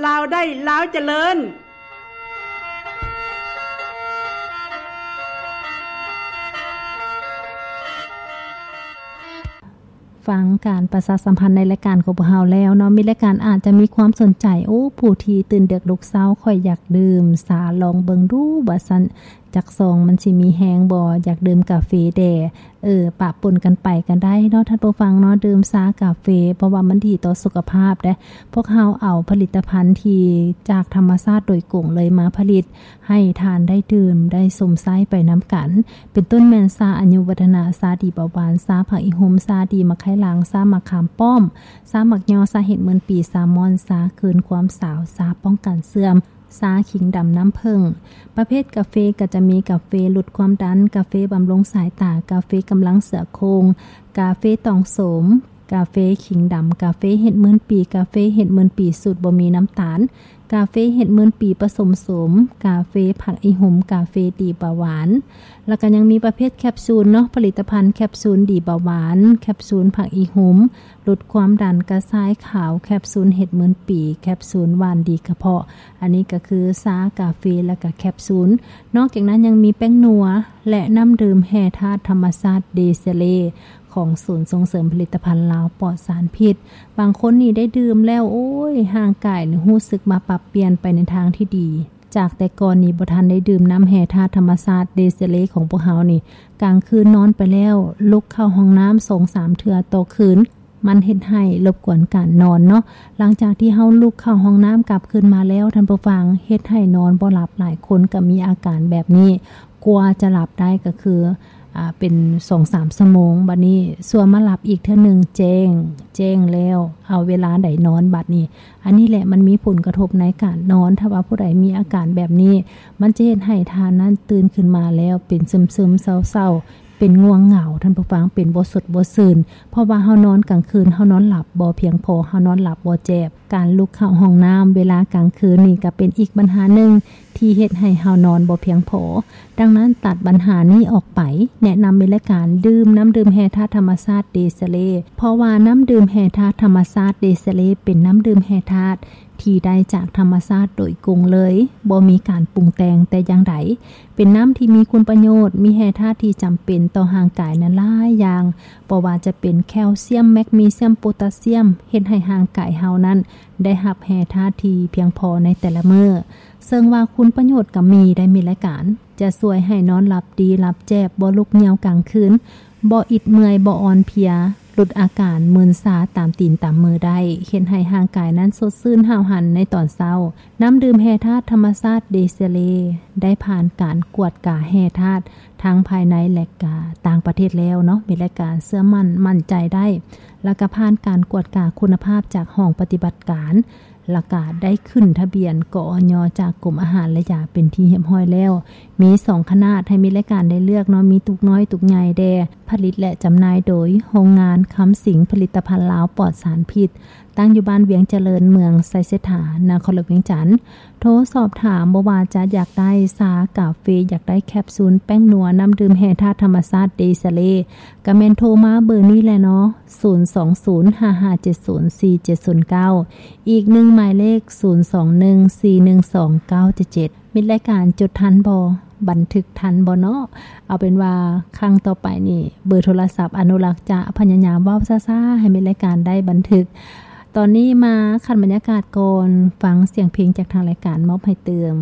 ລາວໄດ້ ລາວຈະເລີນ. ຟັງການປະຊາສຳພັນໃນລາຍການຂອງພວກເຮົາແລ້ວເນາະ, ມີລາຍການອາດຈະມີຄວາມສົນໃຈ, ໂອ້ ຜູ້ທີ່ຕື່ນເດິກລຸກເຊົ້າ, ຂ້ອຍຢາກດື່ມຊາ, ລອງເບິ່ງດູ ວ່າຊັ້ນ. ຈັກຊອງມັນຊິມີແຮງບໍ່? ຢາກດື່ມກາເຟແດ່. ເອີ ປະປົນກັນໄປກໍໄດ້ເນາະທ່ານຜູ້ຟັງເນາະ, ດື່ມຊາກາເຟ ເພາະວ່າມັນດີຕໍ່ສຸຂະພາບເດ້. ພວກເຮົາເອົາຜະລິດຕະພັນທີ່ຈາກທຳມະຊາດໂດຍກົງເລີຍມາຜະລິດ ໃຫ້ທ່ານໄດ້ດື່ມ ໄດ້ຊົມໃຊ້ໄປນຳກັນ, ເປັນຕົ້ນແມ່ນຊາອາຍຸວັດທະນະ, ຊາດີເບົາຫວານ, ຊາຜັກອີ່ຫຸ່ມ, ຊາດີໝາກໄຄຫຼັງ, ຊາໝາກຂາມປ້ອມ, ຊາໝາກຍໍ, ຊາເຫັດໝື່ນປີ, ຊາມ່ອນ, ຊາຄືນຄວາມສາວ, ຊາປ້ອງກັນເສື່ອມ, ຊາຂີງດຳນ້ຳເຜິ້ງ. ປະເພດກາເຟກໍຈະມີກາເຟຫຼຸດຄວາມດັນ, ກາເຟບຳລຸງສາຍຕາ, ກາເຟກຳລັງເສືອໂຄ່ງ, ກາເຟຕອງໂສມ, ກາເຟຂີງດຳ, ກາເຟເຫັດໝື່ນປີ, ກາເຟເຫັດໝື່ນປີສູດບໍ່ມີນ້ຳຕານ, ກາເຟເຫັດໝື່ນປີປະສົມໂສມ, ກາເຟຜັກອີ່ຫຸ່ມ, ກາເຟດີເບົາຫວານ. ແລ້ວກໍຍັງມີປະເພດແຄບຊູນເນາະ, ຜະລິດຕະພັນແຄບຊູນດີເບົາຫວານ, ແຄບຊູນຜັກອີ່ຫຸ່ມ, ຫຼຸດຄວາມດັນ, ກະຊາຍຂາວ, ແຄບຊູນເຫັດໝື່ນປີ, ແຄບຊູນຫວ່ານດີກະເພາະ. ອັນນີ້ກໍຄືຊາ, ກາເຟ ແລ້ວກໍແຄບຊູນ. ນອກຈາກນັ້ນຍັງມີແປ້ງນົວ ແລະ ນ້ຳດື່ມແຮ່ທາດທຳມະຊາດເດເຊເລ ຂອງສູນສົ່ງເສີມຜະລິດຕະພັນລາວປອດສານພິດ. ບາງຄົນນີ້ໄດ້ດື່ມແລ້ວ ໂອ້ຍ ຮ່າງກາຍນີ້ຮູ້ສຶກວ່າປັບປ່ຽນໄປໃນທາງທີ່ດີ. ຈາກແຕ່ກ່ອນນີ້ບໍ່ທັນໄດ້ດື່ມນ້ຳແຮ່ທາດທຳມະຊາດເດເຊເລຂອງພວກເຮົານີ້, ກາງຄືນນອນໄປແລ້ວ ລຸກເຂົ້າຫ້ອງນ້ຳສອງສາມເທື່ອຕໍ່ຄືນ, ມັນເຮັດໃຫ້ລົບກວນການນອນເນາະ. ຫຼັງຈາກທີ່ເຮົາລຸກເຂົ້າຫ້ອງນ້ຳກັບຄືນມາແລ້ວ, ທ່ານຜູ້ຟັງ, ເຮັດໃຫ້ນອນບໍ່ຫຼັບ. ຫຼາຍຄົນກໍມີອາການແບບນີ້, ກວ່າຈະຫຼັບໄດ້ກໍຄື ອາ ເປັນສອງສາມຊົ່ວໂມງ, ບັດນີ້ຊົ່ວມາຫຼັບອີກເທື່ອໜຶ່ງ, ແຈ້ງ, ແຈ້ງແລ້ວ, ເອົາເວລາໃດນອນບັດນີ້? ອັນນີ້ແຫຼະ ມັນມີຜົນກະທົບໃນການນອນ. ຖ້າວ່າຜູ້ໃດມີອາການແບບນີ້, ມັນຈະເຮັດໃຫ້ທ່ານນັ້ນຕື່ນຂຶ້ນມາແລ້ວເປັນຊຶມໆ ເສົ້າໆ, ເປັນງ່ວງເຫງົາ, ທ່ານຜູ້ຟັງ, ເປັນບໍ່ສົດບໍ່ຊື່ນ, ເພາະວ່າເຮົານອນກາງຄືນ ເຮົານອນຫຼັບບໍ່ພຽງພໍ, ເຮົານອນຫຼັບບໍ່ແຈບ. ການລຸກເຂົ້າຫ້ອງນ້ຳເວລາກາງຄືນນີ້ກໍເປັນອີກບັນຫາໜຶ່ງທີ່ເຮັດໃຫ້ເຮົານອນບໍ່ພຽງພໍ. ດັ່ງນັ້ນ ຕັດບັນຫານີ້ອອກໄປ, ແນະນຳເປັນລາຍການດື່ມນ້ຳດື່ມແຮ່ທາດທຳມະຊາດເດເຊເລ, ເພາະວ່ານ້ຳດື່ມແຮ່ທາດທຳມະຊາດເດເຊເລ ເປັນນ້ຳດື່ມແຮ່ທາດ ທີ່ໄດ້ຈາກທຳມະຊາດໂດຍກົງເລີຍ, ບໍ່ມີການປຸງແຕ່ງແຕ່ຢ່າງໃດ. ເປັນນ້ຳທີ່ມີຄຸນປະໂຫຍດ, ມີແຮ່ທາດທີ່ຈຳເປັນຕໍ່ຮ່າງກາຍນັ້ນຫຼາຍຢ່າງ, ບໍ່ວ່າຈະເປັນແຄວຊຽມ, ແມັກນີຊຽມ, ໂປຕາຊຽມ, ເຮັດໃຫ້ຮ່າງກາຍເຮົານັ້ນໄດ້ຮັບແຮ່ທາດທີ່ພຽງພໍໃນແຕ່ລະມື້. ເຊິ່ງວ່າຄຸນປະໂຫຍດກໍມີໄດ້, ມີລາຍການ ຈະຊ່ວຍໃຫ້ນອນຫຼັບດີ, ຫຼັບແຈບ, ບໍ່ລຸກຍ່ຽວກາງຄືນ, ບໍ່ອິດເມື່ອຍ, ບໍ່ອ່ອນເພຍ, ຫຼຸດອາການມຶນຊາຕາມຕີນຕາມມືໄດ້, ເຮັດໃຫ້ຮ່າງກາຍນັ້ນສົດຊື່ນຫ້າວຫັນໃນຕອນເຊົ້າ. ນ້ຳດື່ມແຮ່ທາດທຳມະຊາດເດເຊເລ ໄດ້ຜ່ານການກວດກາແຮ່ທາດທັງພາຍໃນ ແລະ ກະຕ່າງປະເທດແລ້ວເນາະ, ມີລາຍການເຊື່ອໝັ້ນ ໝັ້ນໃຈໄດ້, ແລ້ວກະຜ່ານການກວດກາຄຸນນະພາບຈາກຫ້ອງປະຕິບັດການ, ແລ້ວກະໄດ້ຂຶ້ນທະບຽນ ກອຍ ຈາກກົມອາຫານ ແລະ ຢາເປັນທີ່ຮຽບຮ້ອຍແລ້ວ. ມີສອງຂະໜາດໃຫ້ມີລາຍການໄດ້ເລືອກເນາະ, ມີຕຸກນ້ອຍ ຕຸກໃຫຍ່ແດ່. ຜະລິດ ແລະ ຈຳໜ່າຍໂດຍໂຮງງານຄຳສິງຜະລິດຕະພັນລາວປອດສານພິດ, ຕັ້ງຢູ່ບ້ານວຽງຈະເລີນ, ເມືອງໄຊເສດຖາ, ນະຄອນຫຼວງວຽງຈັນ. ໂທສອບຖາມ ບໍ່ວ່າຈະຢາກໄດ້ຊາ, ກາເຟ, ຢາກໄດ້ແຄບຊູນ, ແປ້ງນົວ, ນ້ຳດື່ມແຮ່ທາດທຳມະຊາດເດຊາເລ, ກະແມ່ນໂທມາເບີນີ້ແຫຼະເນາະ, ສູນສອງສູນ ຫ້າຫ້າເຈັດສູນ ສີ່ເຈັດສູນເກົ້າ, ອີກໜຶ່ງໝາຍເລກ ສູນສອງໜຶ່ງ ສີ່ໜຶ່ງສອງ ເກົ້າເຈັດເຈັດ. ມິດລາຍການຈົດທັນບໍ່? ບັນທຶກທັນບໍ່ເນາະ? ເອົາເປັນວ່າຄັ້ງຕໍ່ໄປນີ້ ເບີໂທລະສັບອະນຸລັກຈະພະຍາຍາມເວົ້າຊ້າໆ ໃຫ້ມິດລາຍການໄດ້ບັນທຶກ. ຕອນນີ້ມາຂັດບັນຍາກາດກ່ອນ, ຟັງສຽງເພງຈາກທາງລາຍການມອບໃຫ້ຕື່ມ.